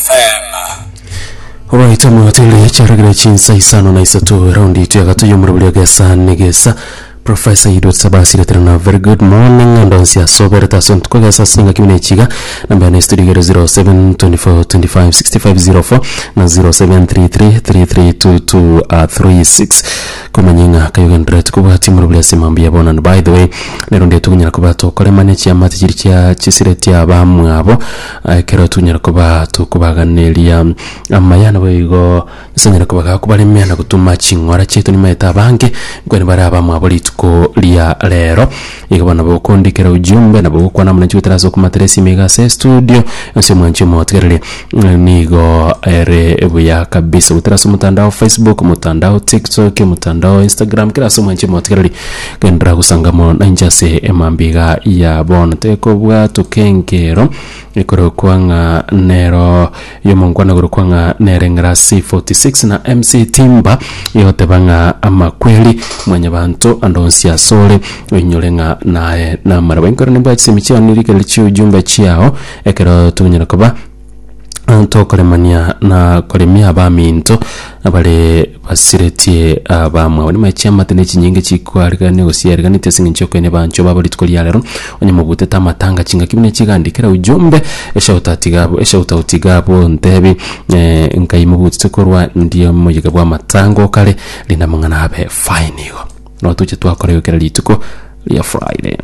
FM. Obaito motere chiaragire chinsa isano na isato raundi itu yagato yomorobori ogesa negesa Professor Edward Sabasi retera na very good morning and onsi asoberete ase ntuko gesa ase engaki buna echiga namba yane studio igere 07 24 25 65 04 na 0733 3322 36 komanya ng'a kayogendererete kobwatia omorobori ase mambia bono and by the way nero ndiye tokonyara koba tokoremania chiamate chiria chia chisireti abamwabo Ekero tonyara koba tokobaganeria amaya, naboigo Nyasae onyare koba gakobaremia na gotoma ching'ora chiaito nimaete abange, nkwane bare abamwabo rituko ria rero. Igo bono nabo okondikera ujumbe, nabo ogokwana amo nainche goetera ase okomatera esimi iga ase estudio, ase omwanchi omotigereri nigo ere buya kabisa. Goetera ase omotandao Facebook, omotandao TikTok, omotandao Instagram, kera ase omwanchi omotigereri Genderera gosanga mono nainche ase emambia iga ya bono. Tekobwatoka enkero ekorokwa ng'a nero y'omonkwana okorokwa ng'a nere ng'ira C46 na MC Timba egoteba ng'a amakweri mwanyabanto ande onsi asore oinyore ng'a naye namaraba. Enkero nimbwate chisemi chiao nirikereri chi'ujumbe chiao ekero tonyara koba Tokoremania na koremia abaminto abare basiretie abamwabo. Nimaye chiamate ne chinyinge chikwarigania gose chiariganetie ase eng'encho y'okoenia abanchwa babo rituko ria rero, onye mobutete amatanga chingaki buna chigandikera ujumbe, eshoutout iga abwo eshoutout iga abwo ntebi nkai mobutete korwa ndie omoyega bwa amatanga okare, rinde amang'ana abe fine igo. Nabo toche twakora igo kera rituko ria Friday.